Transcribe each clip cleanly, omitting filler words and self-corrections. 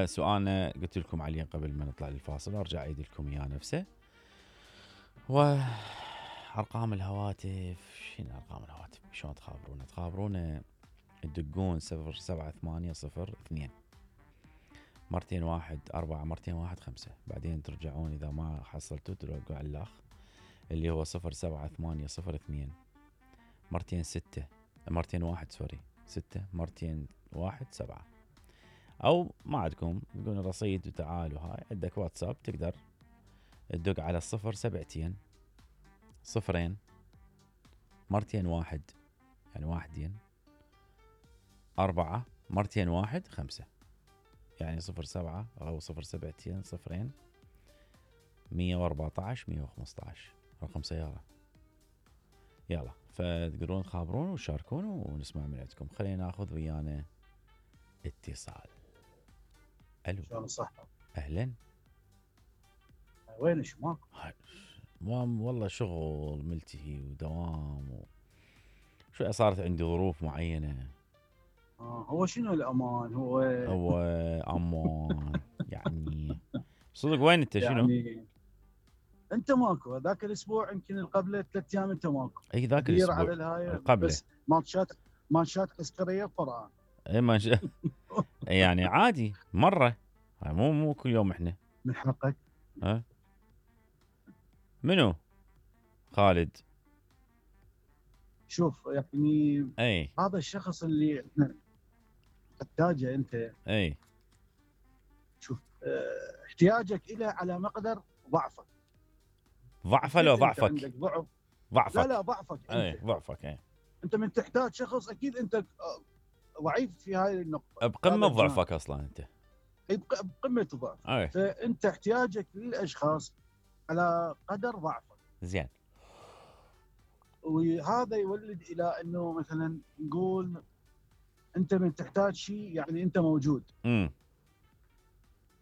سؤالنا قلت لكم عليه قبل ما نطلع للفاصل، ارجع اعيد لكم اياه نفسه. وارقام الهواتف، شنو ارقام الهواتف؟ شلون تخابرونا؟ تخابرونا تدقون 078002 مرتين 1 4 مرتين 1 5، بعدين ترجعون اذا ما حصلتوا ترجعوا على الاخ اللي هو 078002 مرتين 6 مرتين 1 سوري 6 مرتين 1 7. او ما عندكم تقولون رصيد وتعال وهاي، عندك واتساب تقدر تدق على 07 صفرين مرتين 1 يعني 1 4 مرتين 1 5، يعني 07 او 07 صفرين 114 115 رقم سيارة. يلا فتقدرون تخابرون وتشاركون ونسمع من عندكم. خلينا ناخذ ويانا اتصال. الو، شلون صحة؟ اهلا. وين شماك؟ والله شغل ملتهي ودوام شوي صارت عندي ظروف معينة. هو شنو الأمان؟ هو أمان يعني صدق. وين انت؟ شنو؟ يعني انت ماكو ذاك الاسبوع يمكن قبله 3 ايام انت ماكو. اي ذاك الاسبوع على الهاي قبله بس مانشات عسكريه قرآن. اي مانشات يعني عادي مرة، مو كل يوم احنا. من حقك. ها منو؟ خالد. شوف يعني اي هذا الشخص اللي احنا تحتاجه انت. اي شوف احتياجك إلى على مقدر ضعفك. ضعفه لو ضعفك؟ عندك ضعف. ضعفك. لا ضعفك انت. اي ضعفك. اي انت من تحتاج شخص اكيد انت ضعيف في هاي النقطه، بقمه ضعفك اصلا انت. اي بقمه الضعف. فانت احتياجك للاشخاص على قدر ضعفك. زين. وهذا يولد الى انه مثلا نقول انت من تحتاج شيء يعني انت موجود.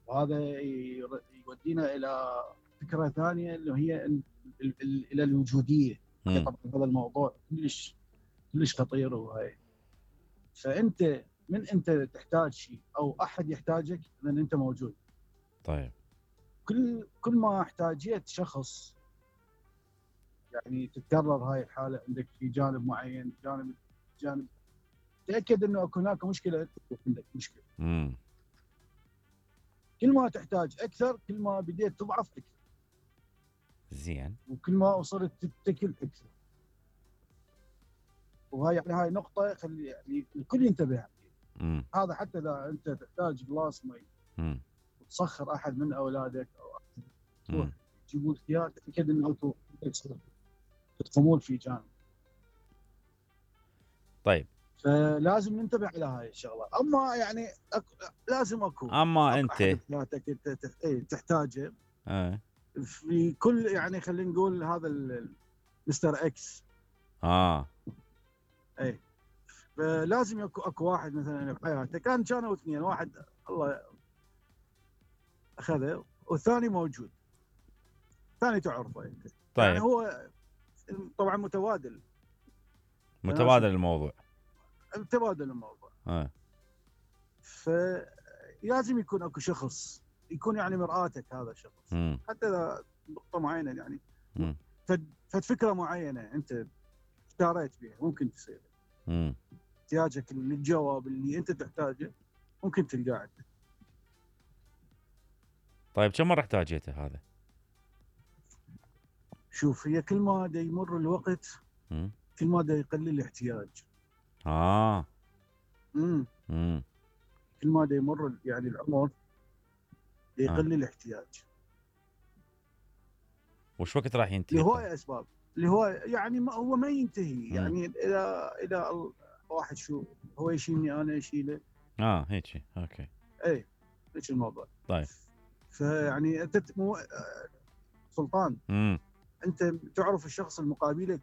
وهذا يودينا الى فكره ثانيه اللي هي الى الوجوديه. طبعا هذا الموضوع كلش خطير وهاي. فانت من انت تحتاج شيء او احد يحتاجك اذا انت موجود. طيب كل ما احتاجيت شخص يعني تتكرر هاي الحاله عندك في جانب معين، جانب تاكد انه هناك مشكله، عندك مشكله. كل ما تحتاج اكثر كل ما بديت تضعف اكثر. زين. وكل ما وصلت تتكل اكثر. وهاي يعني هاي نقطه خلي يعني الكل ينتبه عليها. هذا حتى اذا انت تحتاج جلاس مي وتسخر احد من اولادك او تجيبون خيار، تاكد انه انتم تقومون في جانب. طيب فلازم ننتبه على هاي الشغله. اما يعني لازم اكو اما انت حياتك تحتاجه في كل يعني خلينا نقول هذا مستر اكس. اي فلازم اكو واحد مثلا بحياتك كانوا اثنين، واحد الله اخذه والثاني موجود، الثاني تعرفه انت. طيب. يعني هو طبعا متبادل الموضوع. متبادل الموضوع. فلازم يكون اكو شخص يكون يعني مرآتك هذا الشخص. حتى اذا نقطه معينه يعني فكره معينه انت اختاريت بها ممكن تصير. احتياجك للجواب اللي انت تحتاجه ممكن تلقاه عندك. طيب كم مره احتاجيته هذا؟ شوف هي كل ما دا يمر الوقت كل ما دا يقل الاحتياج. كل ما دا يمر يعني العمر دا يقل الاحتياج. وش وقت راح ينتهي؟ لهواية اسباب، يعني هو ما ينتهي. يعني الى واحد شو هو يشيلني انا اشيله. هيك اوكي. اي هيك الموضوع. طيب فيعني انت سلطان انت تعرف الشخص المقابلك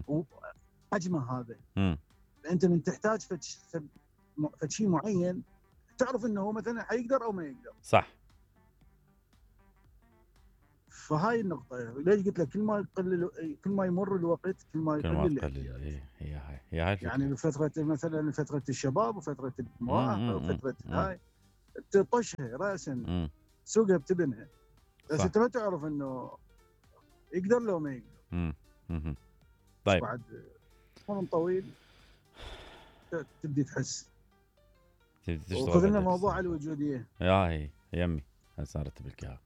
وحجمه هذا. انت من تحتاج شيء معين تعرف انه هو مثلا حيقدر او ما يقدر. صح. فهاي النقطة ليش قلت لك كل ما يمر الوقت كل ما يقل الاحتياج. هي هاي الفكرة. يعني فترة مثلا فترة الشباب وفترة المراهقة وفترة هاي تطشها راسا، سوقها بتبنها، بس انت ما تعرف انه يقدر لو ما يقدر. طيب بعد عمر طويل تبدي تحس. وخذ لنا موضوع الوجوديه. هي يمي هسه ارتب لك اياها.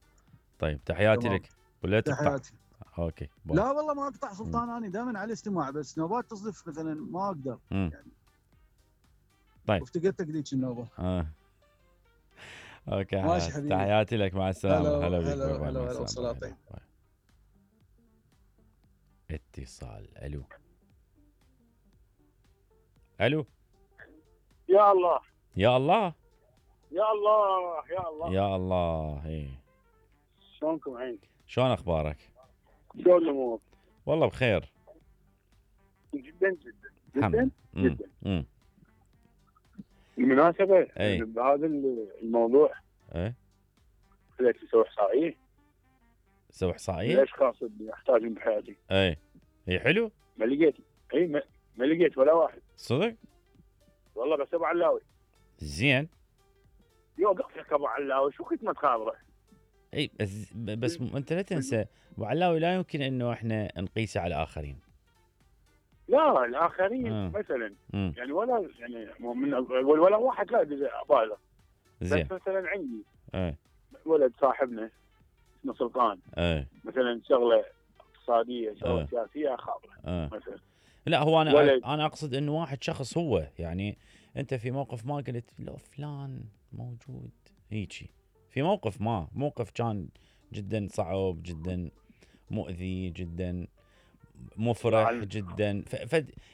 طيب تحياتي لك. ولا تقطع؟ تحياتي. اوكي باي. لا والله ما اقطع سلطان، انا دائما على الاستماع، بس نوبات تصدف مثلا ما اقدر يعني. طيب وافتقدتك ذيك النوبه. اوكي تحياتي لك، مع السلامه. هلا بك. هلا والصلاه طيب. اتصال. الو الو. يا الله يا الله يا الله يا الله يا الله. ايه شلونكم عين؟ شلون اخبارك؟ شلون الامور؟ والله بخير جدا جدا جدا جدا. بالمناسبة بهذا الموضوع بدأت اسوي احصائية. سوي احصائية؟ الاشخاص اللي احتاجهم بحياتي. هي حلو؟ ما لقيت. ما لقيت ولا واحد. صدق؟ والله بس ابو علاوي. زين. يوقفك ابو علاوي، شو خدمة خاطره؟ اي بس انت لا تنسى ابو علاوي لا يمكن انه احنا نقيسه على الاخرين. لا الاخرين مثلا يعني ولا يعني من ولا واحد لا ابالغ. زين. بس مثلا عندي ولد صاحبنا اسمه سلطان. مثلا شغله اقتصاديه، شغله سياسيه خاطره مثلا. لا هو انا اقصد انه واحد شخص هو يعني انت في موقف ما قلت لو فلان موجود هيجي في موقف كان جدا صعب، جدا مؤذي، جدا مفرح جدا،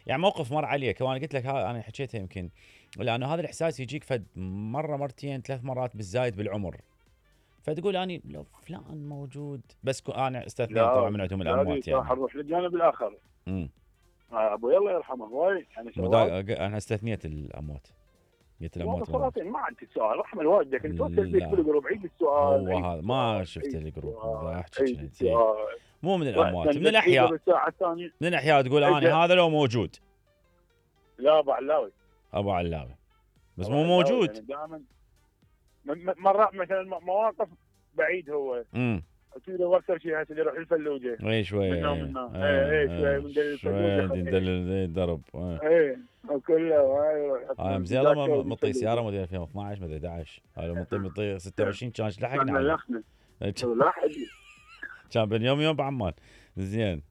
يعني موقف مر عليك. وانا قلت لك انا حكيتها يمكن، لانه هذا الاحساس يجيك فد مره مرتين 3 مرات بالزايد بالعمر، فتقول اني لو فلان موجود. بس انا استثنيت طبعا من عندهم الاموات يعني. نروح للجانب الاخر. ابوي الله يرحمه هواي يعني انا استثنيت الاموات. قلت الاموات ما عندي سؤال. رحم والديك انت توصل بيك بالجروب عيد السؤال. هو هذا ما شفت الجروب احكي مو من الاموات، من الاحياء. من الاحياء تقول اني هذا لو موجود. لا ابو علاوي. ابو علاوي بس مو موجود يعني دائما. مرات مثلا مواقف بعيد هو. تقدر اكثر شيء هسه يروح الفلوجه. اي شويه. شويه من الدرب. كله زين الله مطي سياره موديل 2012 مدري 11. هذا مطي 26 كان لحقنا. كان بين يوم بعمان. زين.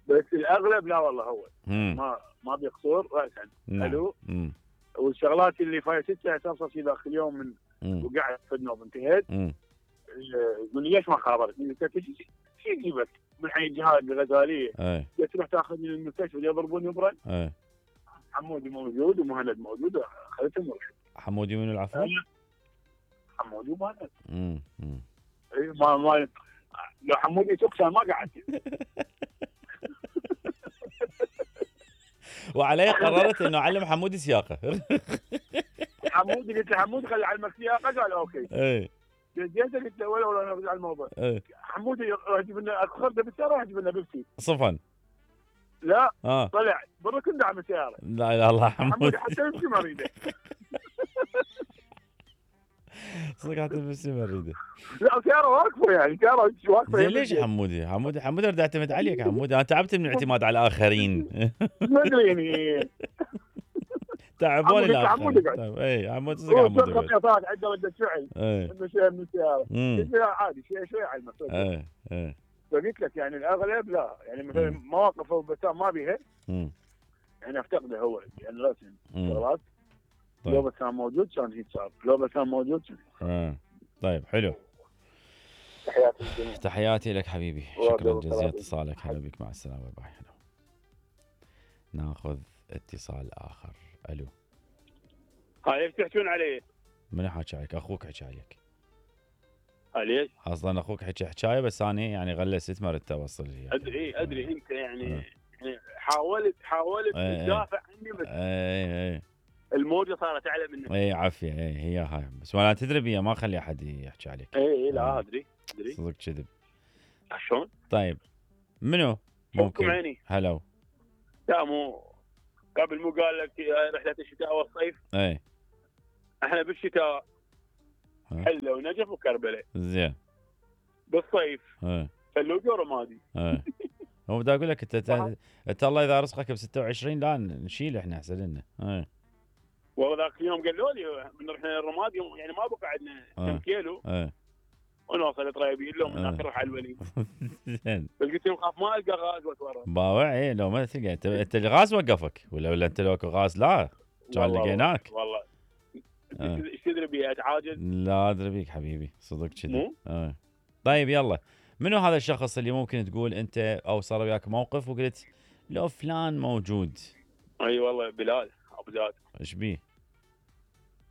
بس الاغلب لا والله هو ما بيقصر راسا. حلو. والشغلات اللي فايتتها اساسا في داخل اليوم من وقعت في النوب انتهت. يقول لي ليش ما خابرتني؟ قلت له شو يجيبك من حي الجهاد الغزاليه؟ قلت تروح تاخذني للمستشفى يضربوني برد. حمودي موجود ومهند موجود، اخذتهم ورحت. حمودي من العفو؟ حمودي ومهند. ما لو حمودي سكسان ما قعدت. وعليه قررت انه اعلم حمودي سياقه. حمودي قلت له حمودي خلي علمك سياقه، قال اوكي. جيت قلت له ولا نرجع الموضوع. حمودي راح يجيب لنا اخرته بالسياره، راح يجيب لنا بيبسي صفن. لا طلع بالركن دعم السياره. لا اله الا الله. حمودي حتى يمشي ما اريده. صدق حتى يمشي ما اريده. لا سياره واقفه يعني سياره واقفه. زين ليش حمودي اريد اعتمد عليك يا حمودي. انا تعبت من الاعتماد على الاخرين. ما ادري يعني تعبوني الاخرين. طيب حمودي صدق حمودي خطيات عنده رده فعل انه شيء من السياره. قلت له عادي شوي على المسؤول. فقلت لك يعني الاغلب لا، يعني مثلا مواقف بسام ما بيها يعني افتقده هو يعني رسم شغلات. لو بسام موجود كان هيك صار، لو بسام موجود كان. طيب حلو. تحياتي لك حبيبي، شكرا جزيلا اتصالك. هلا بك، مع السلامه. باي. ناخذ اتصال اخر. الو. هاي تحكون علي؟ من حكى عليك؟ اخوك حكى عليك. ليش؟ اصلا اخوك حكى حكايه بس انا يعني غلست ما ردت اوصل لي. ادري انت يعني حاولت تدافع عني بس الموجه صارت اعلى منك. عافيه. هي هاي بس ولا تدري بيها ما اخلي احد يحكي عليك. لا ادري صدق كذب. شلون؟ طيب منو ممكن؟ عيني. هلو. لا مو قبل مو قال لك رحله الشتاء والصيف؟ احنا بالشتاء حله ونجف وكربلاء. زين. بالصيف فلوقه ورمادي. هو بدي اقول لك انت الله اذا رزقك ب 26 لا نشيل احنا احسن لنا. والله ذاك اليوم قالوا لي بنروح الرمادي يعني ما بقى عندنا كم كيلو. ونوصل طريبين لهم من اخر على الوليد. زين. قلت لهم خاف ما القى غاز واتورط. باوع لو ما تلقى انت الغاز وقفك ولا انت لو غاز لا كان لقيناك. والله ايش تدري بي اتعاجز؟ لا ادري بيك حبيبي صدق كذي. طيب يلا منو هذا الشخص اللي ممكن تقول انت او صار وياك موقف وقلت لو فلان موجود؟ اي والله بلال ابو زاد. ايش بيه؟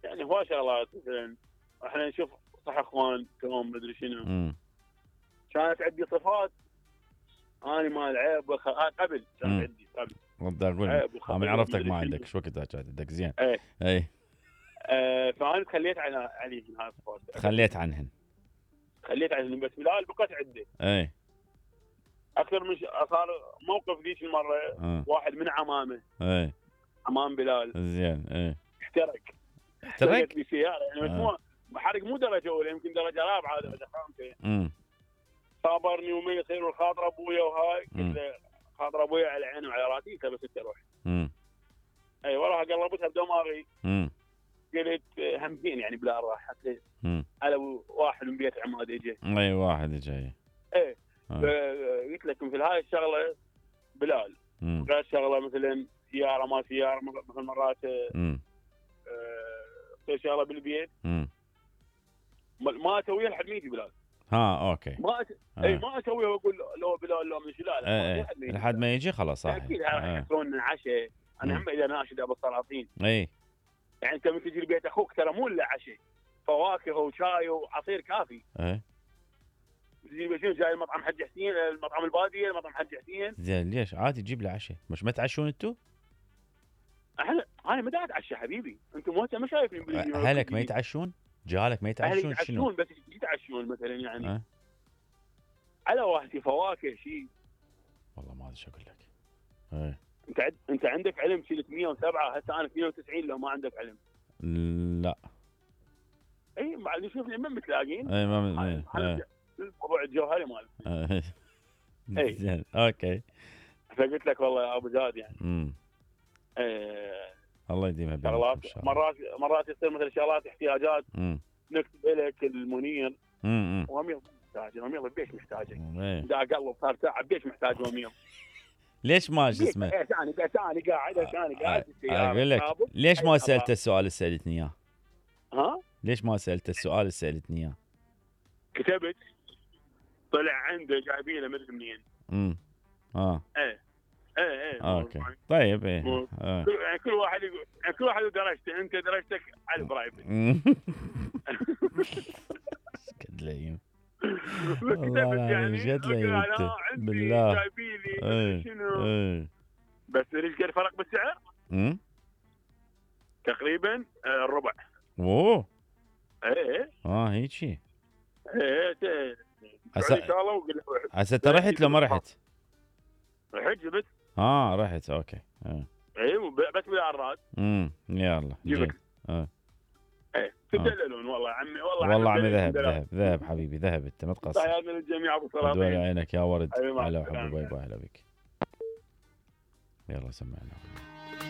يعني هو شغلات مثلا احنا نشوف صح اخوان تمام مدري شنو. كانت عندي صفات انا ما العيب قبل كانت عندي قبل. بدي اقول من عرفتك ما عندك شو وقت كانت عندك. زين. اي فانا تخليت عليهم هاي الصفات. خليت عنهن بس بلال بقت عندي. اكثر من صار موقف ذيك المره. واحد من عمامه. عمام بلال. زين. احترق بسياره يعني حرق مو درجه اولى يمكن درجه رابعه درجه خامسه. صابرني وما يصير الخاطر ابويا وهاي. قلت له خاطر ابويا على عيني وعلى راسي بس انت روح. اي والله قلبتها بدماغي. قلت همزين يعني بلا راح حتى على واحد من بيت عماد اجى. اي واحد اجى. قلت لكم في هاي الشغله بلال. غير شغله مثلا سياره ما سياره مثل مرات شغله بالبيت ما اسويها لحد ما يجي بلال. اوكي. ما اسويها واقول لو بلال لو من لا لحد ما يجي خلاص. صح اكيد يحضرون عشاء. انا هم اذا ناشد ابو السلاطين. يعني انت من تجي لبيت اخوك ترى مو الا عشاء فواكه وشاي وعصير كافي. تجي بشنو جاي المطعم حج حسين المطعم الباديه المطعم حج حسين. زين ليش عادي تجيب له عشاء مش ما تعشون انتم؟ انا ما دا اتعشى حبيبي انتم ما شايفين اهلك ما يتعشون؟ جهالك ما يتعشون؟ شنو بس يتعشون مثلا يعني على واحد فواكه شيء. والله ما ادري شو اقول لك. انت عندك علم شيلت 107 هسه انا 92 لو ما عندك علم. لا اي بعد نشوف من متلاقين. اي ما الموضوع الجوهري مال. زين اوكي. فقلت لك والله يا ابو زاد يعني. الله يديمها شغلات مرات يصير مثل شغلات احتياجات. نكتب لك المنير. وامير محتاج امير بيش محتاجك. دا قلب صار ساعه بيش محتاج امير. ليش ما شو اسمه؟ انا قاعد اقول لك ليش ما سالته السؤال اللي سالتني اياه؟ ليش ما سالته السؤال اللي سالتني اياه؟ كتبت طلع عنده جايبينه مدري منين. اوكي طيب يعني كل واحد يقول يعني كل واحد درجته انت درجتك على البرايفت. قد لين والله يعني قد لين بالله جايبيني شنو بس ايش قد فرق بالسعر؟ تقريبا الربع. اوه هيك شيء. هسه انت رحت لو ما رحت؟ رحت جبت. رحت اوكي. بس بالعراض. يلا جيب. تدللون والله عمي والله عمي ذهب حبيبي ذهب انت ما تقصر. تحياتنا للجميع ابو سلام. دول عينك يا ورد. هلا وحبيبي باي باي هلا بك. يلا سمعنا.